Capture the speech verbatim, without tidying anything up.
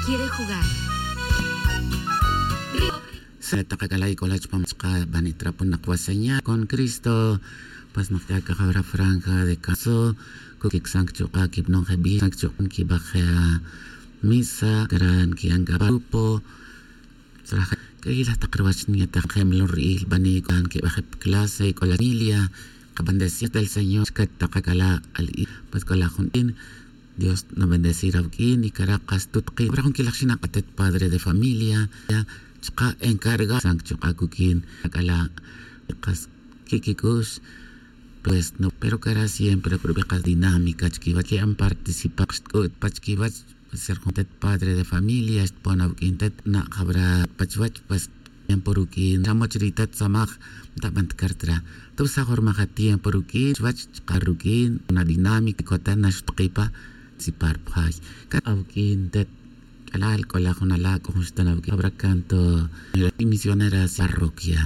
Quiere jugar. Sa' tak ac'ala' ic'ola' chupam chka' bani' trapo nak wa señal con Cristo. Pues nak ya cajawra franja de caso. Cuquicsan cchuka' quibnon jebil san cchuka' quibaj misa gran quian c'a grupo. Tzraja c'ayilaj tak ruwach niya' tak jemlon ri'il bani' c'an quibaj jep clase ic'ola' familia. Cabendecir del señor chca tak ac'ala' ali'i. Pues c'ola' jun in. Dios nabendecir awuq'uin y cara' kas tutki' abra jun quilaj xinak atet padre de familia. Chka' encarga san chuka' cuq'uin ac'ala' kas quiquic'ux. Pues no pero cara' siempre curubi' kas dinámica chiquiwach que'an participar xtc'u't pa chiquiwach. Ser jun tet padre de familia xtpon awuq'uin tet na' jabra pa chiwach pues tiempo ruq'uin xa moch ri tat samaj. Ntaban ticartira tubsaj urmaj atiempo ruq'uin chuwach chka' ruq'uin una dinámica cota na xutkipa. Sipar pjay ca awuq'uin tet c'alal c'ola' jun ala' c'o jun xtan awuq'uin abra canto misionera parroquia.